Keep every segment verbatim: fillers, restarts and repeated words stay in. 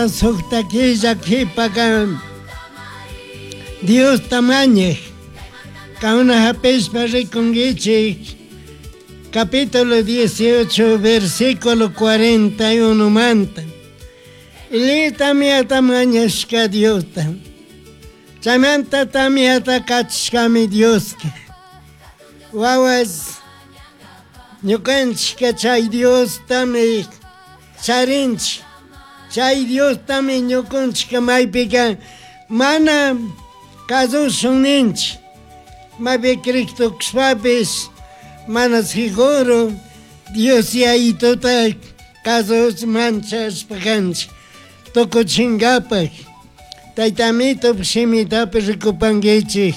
Sukta killa qhipaka Diosta mañaj kauna hapishpa rikunkichik capítulo dieciocho versículo cuarenta y uno manta Elías tamyata mañashka Diosta chaymanta tamyata kachashkami Dioska wawas ñukanchikka chay Diostami charinchik chay Diostami ñukanchikka maypika mana kasushun ninchik maypi Cristo kashpapis mana seguro Dios Yayituta kasush manchashpa kanchik tukuchinkapak Tayta Amito shimitapi rikupankichik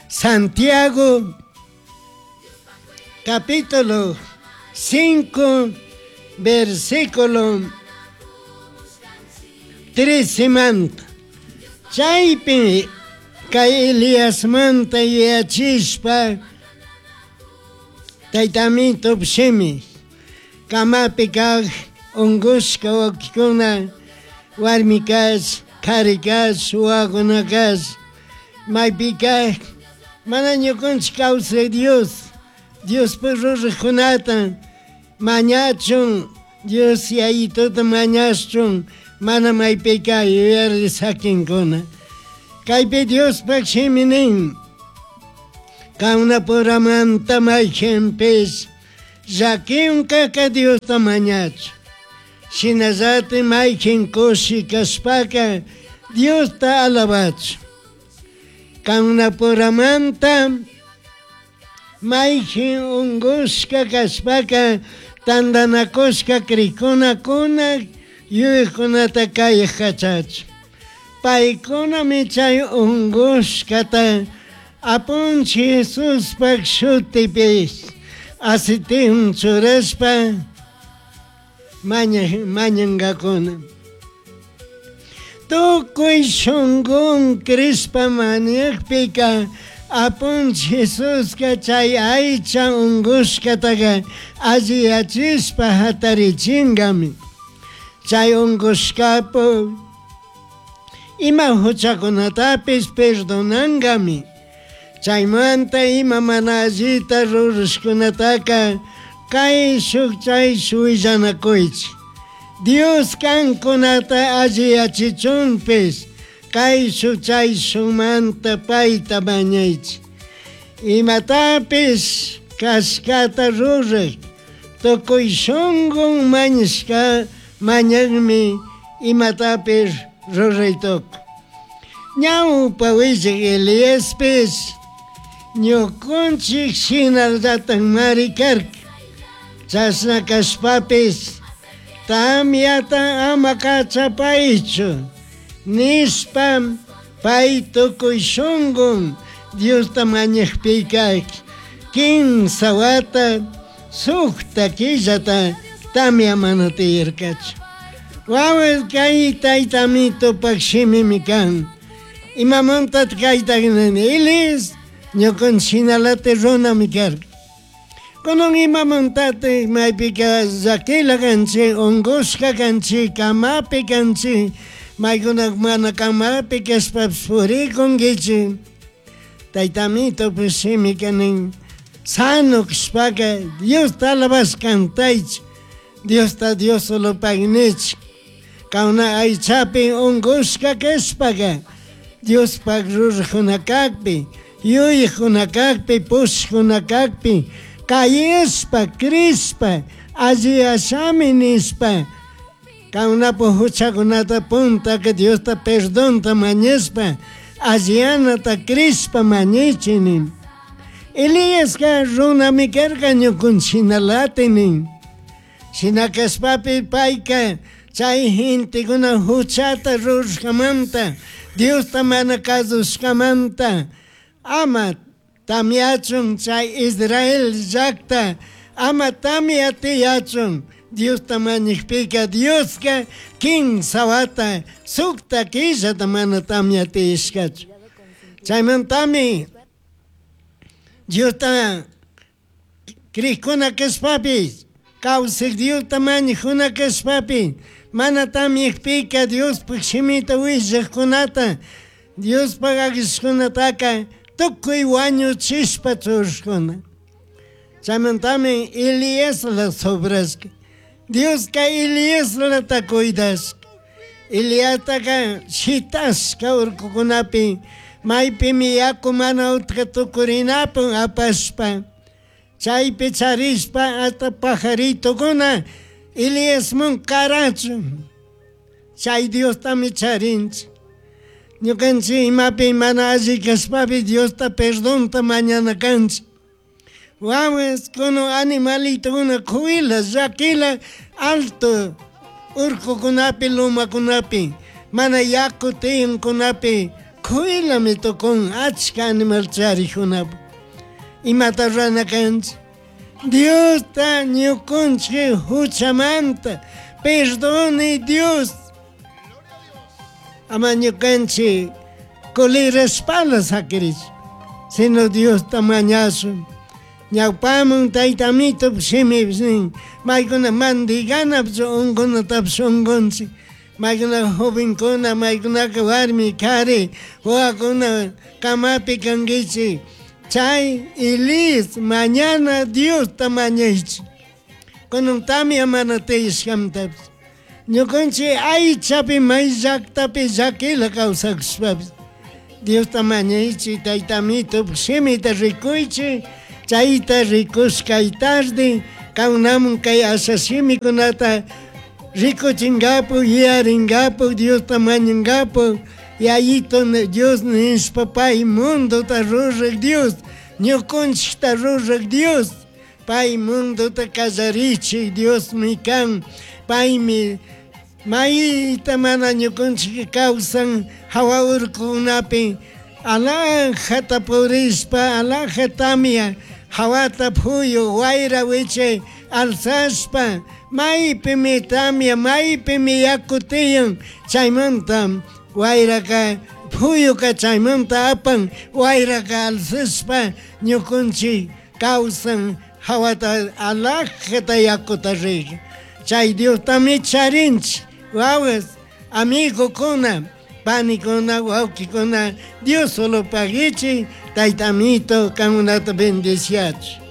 Santiago capítulo cinco versículo trece manta chaypi kay Eliasmanta yuyachishpa Tayta Amito shimi kamapi kaq unqushka wawqikuna warmi kash qhari kash wawakuna kash maypi kaq mana ñukanchik kawsaq Dios Diospaq ruraqkunata mañachun Dios Yayituta mañashchun mana maypika yuyari sakinkuna kaypi Diospaq shimi nin Kawnapuramanta mayqinpis llakiwan kaka Diosta mañachun shinallatik mayqin kushi kashpaka Diosta alabachun Kawnapuramanta mayqin unqushka kashpaka tantanakushka crikunakuna yuyaykunata kayaq kachachun paykunami chay unqushkata Apunchik Jesuspaq shutipi aceitewan churashpa mañaj mañankakuna tukuy shunqun crishpa mañakpika Apunchik Jesuska chay aycha unqushkataka alliyachishpa hatarichinkami chay unqushkapu ima huchakunatapis perdonankami chaymanta ima mana allita rurashkunataka kayshuk chayshuk willanakuychik Dios kankunata alliyachichunpis kayshuk chayshukmanta payta mañaychik imatapis kashkata ruraq tukuy shunqun mañashka mañakmi imatapis ruraytukun ñawpa willak Eliaspis ñukanchik shinallatakmari karka chashna kashpapis tamyata ama kachapaychu nishpa pay tukuy shunqun Diosta mañakpika kimsa wata sukta killata tamya mana tiyarkachu wawas kay Tayta Amitopak shimimi kan imamantataq kayta nini Elias ñukanchik shinalatik runami karka kunan imamantatik maypika llakila kanchik unqushka kanchik kamapi kanchik maykuna mana kamapi kashpapish purikunkichik Tayta Amitopish shimika nin sano kashpaka Diosta alabash kantaychik Diosta Diosolopaq nichik kawna aychapi unqushka kashpaka Diospaq ruraqkuna kakpi yuyaqkuna kakpi pushqkuna kakpi kayashpa crishpa alliyashami nishpa kawnapu huchakunata puntaka Diosta perdonta mañashpa alliyanata crishpa mañaychik nin Eliaska runami karka ñukanchik shinalati nin shina kashpapi payka chay gentekuna huchata rurashkamanta Diosta mana kasushkamanta ama tamyachun chay Israel llakta ama tamya tiyachun Diosta mañakpika Dioska kimsa wata sukta killata mana tamya tiyashkachu chaymantami Diosta crikuna kashpapis kawsak Diosta mañakuna kashpapi Mana tamyakpika Diospaj shimita willajkunata Diospaj agishkunataka tukuy wañuchishpa churashkuna. Chaymantami Eliasla sobrashka. Dioska Eliaslata cuidashka. Eliastaka shitashka urkukunapi maypimi yaku mana utka tukurinapun apashpa chaypi charishpa hasta pajaritokuna Eliasman karachun. Chay Diostami charinchik. Ñukanchik imapi mana alli kashpapi Diosta perdonta mañana kanchik. Wawas kunan animalitokuna kuyla llakila alto urkukunapi lumakunapi mana yaku tiyankunapi kuylami tukun achka animal charikunapi. Imata rurana kanchik? Diosta ñukunchik huchamanta perdone Dios. Ama ñukanchik kulirashpala sakirish, sino Diosta mañashun. Ñawpaman tayta amito shimipish nin maykuna mandiganapish unkunatapish unkunchik. Maykuna jovenkuna, maykunaka warmi, kari, wawakuna kamapi kankichik. Chay Elías mañana Diosta mañaychik. Kunan tamya mana tiyashkamtapish. Ñukanchik aychapi may llaktapi llakila kawsakushpapish Diosta mañaychik tayta amito shimita rikuychik. Chayta rikushkay tarde kawnamun kay asha shimikunata rikuchinkapu yuyarinkapu Diosta mañankapu yayito Dios nishpa pay mundota ruraj Dios ñukunchikta ruraj Dios pay mundota kallarichik Diosmi kan paymi mayta mana ñukunchik kawsan hawa urkukunapi alajata purishpa alaja tamya hawata phuyu wayra wichay alzashpa maypimi tamya maypimi yaku tiyan chaymanta wayraka phuyuka chaymanta apan wayraka alzashpa ñukunchik kawsan hawata alajata yakuta rik. Chay Diostami charinchik wawas amigokuna panikuna wawkikuna Dios solo pagichi tayta amito kankunata bendiciachu.